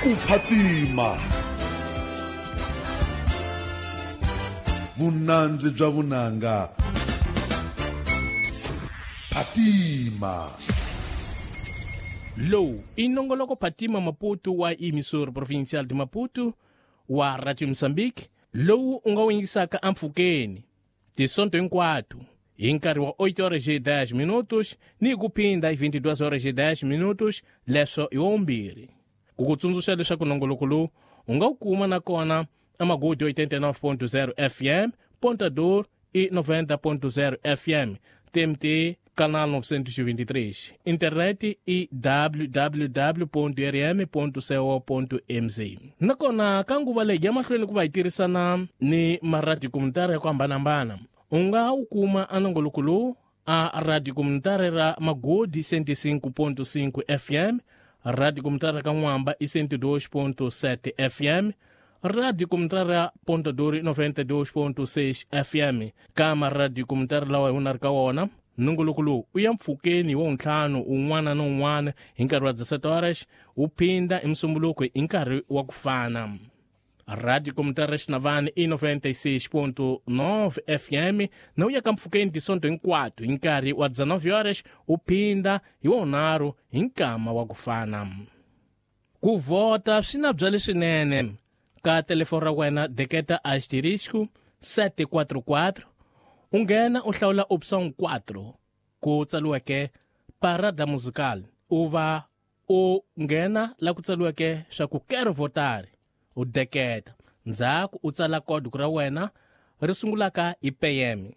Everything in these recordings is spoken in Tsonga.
Ku phatima vunandzi bya vunanga. Phatima. Lowu i nongoloko Phatima Maputo wa Emissora Provincial de Maputo wa Radio Mozambique lowu u nga wu yingisaka empfhukeni tisonto hinkwato hi nkarhi wa 8 horas e 10 minutos ni ku phinda hi 22 horas e 10 minutos, leswo hi waumbirhi. Ku ku tsundzuxa leswaku nongoloko lowu u nga wu kuma nakona amagodi 89.0 FM Pontador e 90.0 FM TMT canal 923, internet i www.rm.co.mz. Nakona ka nguva leyi ya mahlweni ku va hi tirhisana ni maradio komunitari ya ku hambanahambana, u nga wu kuma a nongoloko lowu a radio komunitari ra Magodi 105.5 FM, radio komunitari ra Kan'wamba i 102.7 FM, radio komunitari ra Pontadori 92.6 FM. Ka maradio komunitari lawa hi wona ri ka wona, nongoloko lowu u ya mpfhukeni wa ntlhanu un'wana na un'wana hi nkarhi wa 17 horas, wu phinda hi musumbunuko hi nkarhi wa ku fana. Radio Komunitária ra Xinavani i 96.9 FM na wu ya ka mpfhukeni tisonto hinkwato hi nkarhi wa 19 horas, wu phinda hi wonharhu hi nkama wa ku fana. Ku vhota swi na bya leswinene. Ka telefoni ra wena deketa asterisco 744, u nghena u hlawula option 4 ku tsariweke Parada Musical, u va u nghena la ku tsariweke swa ku Quero Votar, u deketa, ndzhaku u tsala código ra wena ri sungulaka hi PM.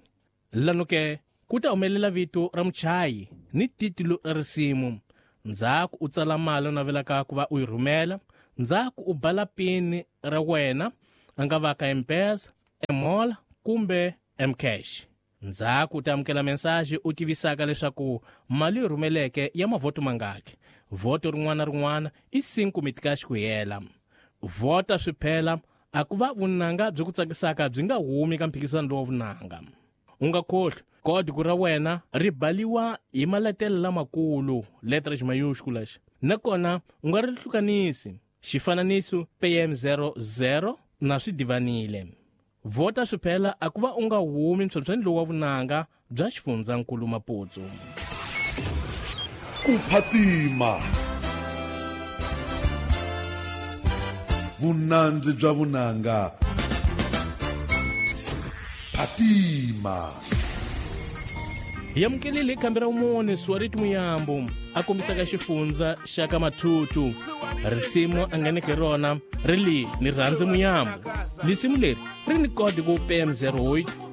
Lano ke ku ta humelela vito ra muchayi ni titulo ra risimu, ndzhaku u tsala mali u navelaka ku va u yi rhumela, ndzhaku u bala pin ra wena, a nga va ka M-Pesa, M-Mola kumbe M-Cash. Ndzhaku u ta amukela mensaji u tivisaka leswaku mali yi rhumeleke ya mavhoto mangaki. Vhoto rin'wana na rin'wana i 5 mitikaxi ku hela. Vhota swi phela a ku va vunanga byi ku tsakisaka byi nga humi ka mphikizano lowa vunanga. U nga khohlwi, kódigo ra wena ri baliwa hi maletelo lamakulu, letras maiúsculas, nakona u nga ri hlukanisi. Xifananiso PM00 na swi divanile. Vhota swi phela a ku va u nga humi mphyemphyeni lowu wa vunanga bya xifundzankulu Maputo. Ku phatima vunandzi bya vunanga. Phatima. Hi amukelile hi khambi ra wumune Suariti Muyambo a kombisaka xifundza xa ka Mathutu. Risimu a ngheneke rona ri li ni rhandze Muyambo. Lisimu leri ri ni kodi ku PM08.